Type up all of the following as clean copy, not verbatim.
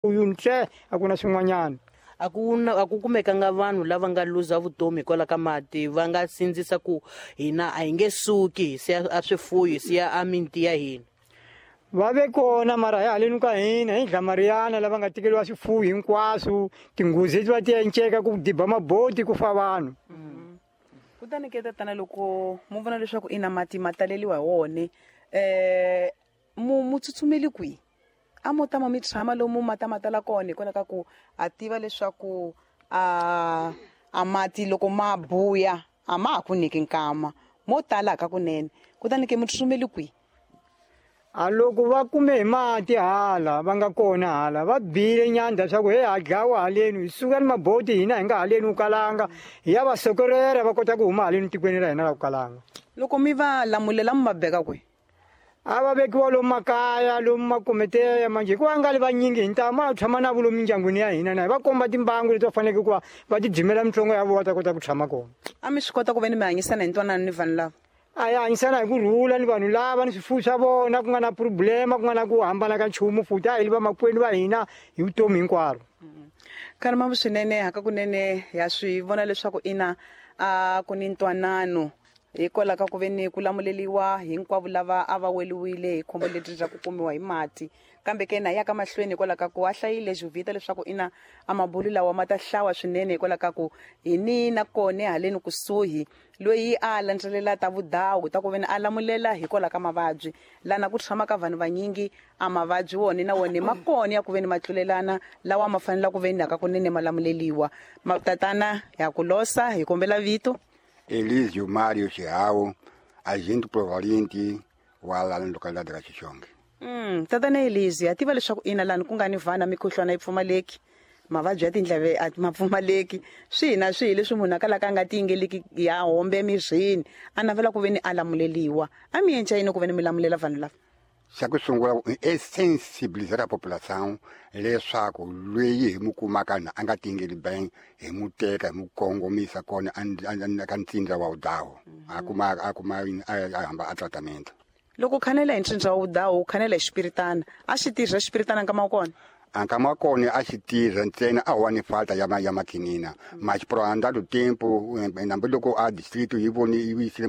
Uyu ntle a ku na swin'wanyana. A ku na a ku kumekanga vanhu lava nga luza vutomi hikwalaho ka mati, va nga sindzisa ku hina a hi nge suki hi siya a swifuwo, hi siya a miti ya hina. Va ve kona, mara hi haleni ka hina hi Dlamariyana lava nga tekeriwa swifuwo hinkwaswo, tinghozi leti va ti enceka ku diba maboti ku fa vanhu. Kutani ke tatana, loko mu vona leswaku ina mati ma taleliwa hi wone, mu tsutsumeli kwihi? A mo tama mi tshama lomu mati ma tala kona, hikwalaho ka ku a tiva leswaku a mati loko ma buya a ma ha ku nyiki nkama, mo tala ka kunene. Kutani ke mu tsutsumeli kwihi? A loko va kume hi mati hala va nga kona hala, va bile nyandza swa ku he ha dlawa haleni, hi suka ni maboti hina hi nga haleni Ukalanga, hi ya va sokorera va kota ku huma haleni tikweni ra hina ra Ukalanga. Loko mi va lamulela, mi va beka kwihi? A va vekiwa lomu makaya, lomu makometeya manje, hikuva nga li vanyingi hi ntamu a tshama na vo lomu mindyangwini ya hina, na hi va komba timbangu leti va faneleke ku va va ti dzimela mitsongo ya vona, va ta kota ku tshama kona. A mi swi kota ku ve ni mi hanyisana hi ntwanano ni vanhu lava? A hi hanyisana hi ku rhula ni vanhu lava ni swifuwo swa vona, ku nga na problema, ku nga na ku hambana ka nchumu, futhi a hi li vamakwenu va hina hi vutomi hinkwaro. Kharima swinene, hakakunene ya swi vona leswaku ina a ku ni ntwanano hikwalaho ka ku ve ni ku lamuleliwa hinkwavo lava a va weliwile hi khombo leri ra ku kumiwa hi mati. Kambe ke na ya ka mahlweni, hikwalaho ka ku a hlayile Juvita leswaku ina a mabulu lawa ma ta hlawa swinene, hikwalaho ka ku hi ni na kone haleni kusuhi loyi a landzelela ta vudawu ta ku ve ni a lamulela hikwalaho ka mavabyi lana ku tshama ka vanhu vanyingi. A mavabyi wona na wona ma kona ya ku ve ni ma tlulelana, lawa ma fanela ku ve ni hakakunene ma lamuleliwa. Tatana, ya ku losa, hi kombela vito. Elísio Mário Chihau, agente provaliente wa la localidade da Xixonge. Tatana Elísio, ha tiva leswaku ina lani ku nga ni vana mikhuhlwana yi pfumaleki, mavabyi ya tindleve a ma pfumaleki, swihi na swihi leswi munhu a kalaka a nga tiyingeliki ya hombe emirini, a navela ku ve ni a lamuleliwa. A mi endla yini ku ve ni mi lamulela vanhu lava? Xa ku sungula é sensibilizar a população leswaku loyi hi mu kumaka na a nga tingeli bem, hi mu teka hi mu kongomisa kona ka ntsindza wa vudawu, a kuma a hamba a tratamento. Loko u khanela hi ntsindza wa vudawu, u khanela hi xipiritana, a xi tirha xipiritana nkama wa kona? A nkama wa kona a xi tirha, ntsena a wa ni falta ya makinina, mas por andar do tempo, hambiloko a distrito yi voni yi yisile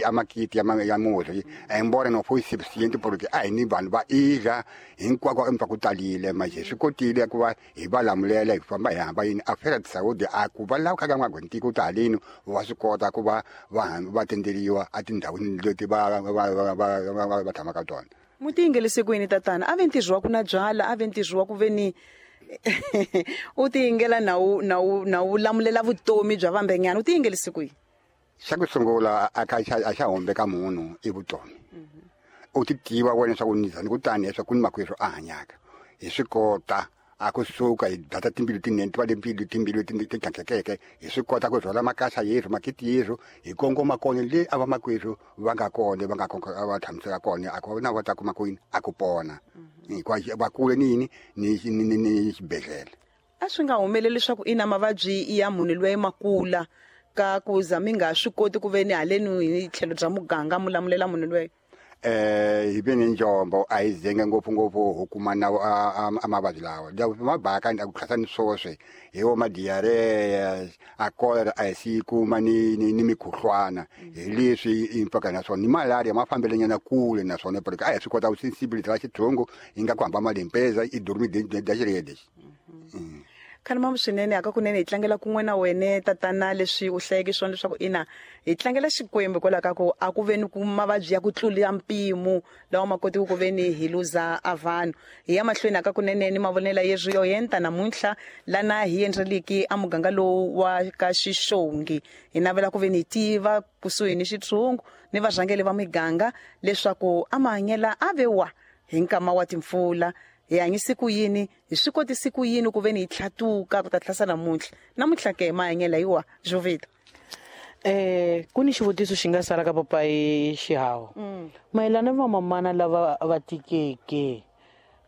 a makiti ya murhi, embora não foi suficiente porque a hi ni vanhu va idla hinkwako emva ku talile, mas hi swi kotile ku va hi va lamulela, hi famba hi hamba yini a feira de saúde, a ku va lava kha nga ntiko ta haleni va swi kota ku va va tenderiwa etindhawini leti va tshamaka tona. Mu tiyingelise ku yini, tatana? A ve ntirho wa ku na byala, a ve ntirho wa ku ve ni u tiyingela na wu lamulela vutomi bya vambenyana, u tiyingelise ku yini? Xa ku sungula, a ka a xa hombe ka munhu i vutomi. U ti tiva wena swa ku nizani kutani leswaku ku ni makwerhu a hanyaka, hi swi kota a kusuka hi data timbilu tinene, ti va le timbilu ti tlhantlhekeke, hi swi kota ku rhwala makasa yerhu, makiti yerhu, hi kongoma kona le a vamakwerhu va nga kona, va nga va tshamiseka kona, a ku na va ta kuma kwini a ku pona, hikuva va kule ni yini ni xibedhlele. A swi nga humeleli leswaku ina mavabyi ya munhu loyi ma kula ka ku za mi nga swi koti ku ve ni haleni hi tlhelo bya muganga mu lamulela munhu loyi? Hi ve ni njombo, a hi zenge ngopfu ngopfu ho kuma na a mavabyi lawa mabaka ku tlhasa ni swoswe hi wo ma diarrhea, a cholera a hi si kuma ni mikhuhlwana, hi leswi impaka naswona ni malaria ma fambelenyana kule naswona, porque a hi swi kota ku sensibilizar xithungu hi nga ku hamba ma limpeza i dormir das redes. Khalima swinene, hakakunene hi tlangela kun'we na wene tatana leswi u hlayeke swona leswaku ina hi tlangela Xikwembu hikwalaho ka ku a ku ve ni ku mavabyi ya ku tlula mpimo lawa ma kotiki ku ve ni hi luza a vanhu. Hi ya mahlweni hakakunene ni mavonelo yeswi yo henta namuntlha lana hi endleliki a muganga lowu wa ka Xixongi. Hi navela ku ve ni tiva kusuhi ni xitshungu ni varhangeli va miganga leswaku a mahanyela a ve wa hi nkama wa timpfula, hi hanyise ku yini, hi swi kotisi ku yini ku ve ni hi tlhatuka ku ta tlhasa namuntlha. Namuntlha ke mahanyela hi wa Jovita. Ku ni xivutiso xi nga sala ka papayi Xihawu mayelana ni vamamana lava va tikeke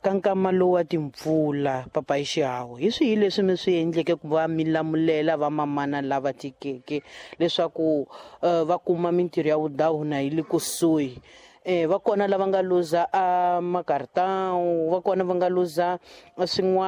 ka nkama lowu wa timpfula. Papayi Xihawu, hi swihi leswi mi swi endleke ku va mi lamulela vamamana lava tikeke leswaku va kuma mintirho ya vudawu na yi le kusuhi? Va kona lava nga luza a makartão, va kona va nga luza swin'wana.